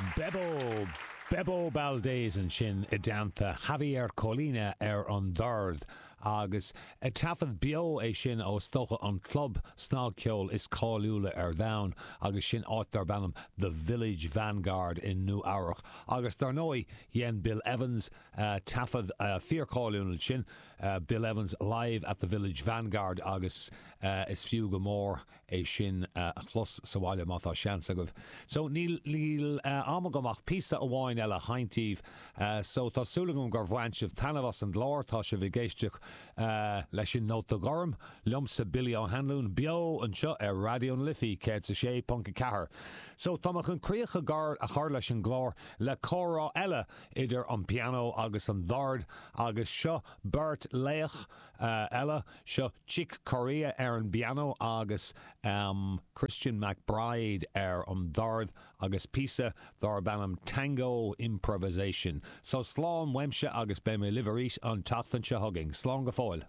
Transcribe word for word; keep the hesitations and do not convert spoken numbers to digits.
Bebo Bebo Valdés ansin i dteannta Javier Colina ar an dord agus taifead beo é sin ó is dócha an club snagcheoil is cáiliúla ar domhan agus sin áit darb ainm The Village Vanguard in Nua-Eabhrac. Agus dar ndóigh dhein Bill Evans uh, taifead uh, fíorcháiliúil sin uh, Bill Evans live at the Village Vanguard agus uh, is fiú go mór é sin uh, a chlos sa bhaile má tá seans agaibh. So níl níl uh, am agam ach píosa amháin eile a sheinnt daoibh uh, so tá súil agam gur bhain sibh taitneamh as an gclár tá sibh ag éisteacht uh, leis an Nóta Gorm liomsa Billy O'Hanlon beo anseo ar Raidió na Life céad a sé ponc ceathair. So tá chun críoch a gar a chur leis an gclár le comhrá eile idir an piano agus an dord agus seo beirt laoch uh, eile seo Chick Corea ar an piano agus um, Christian McBride ar an dord agus píosa darb ainm Tango Improvisation. So slán uaimse agus beidh mé libh arís an tseachtain seo chugainn. Slán go fóill.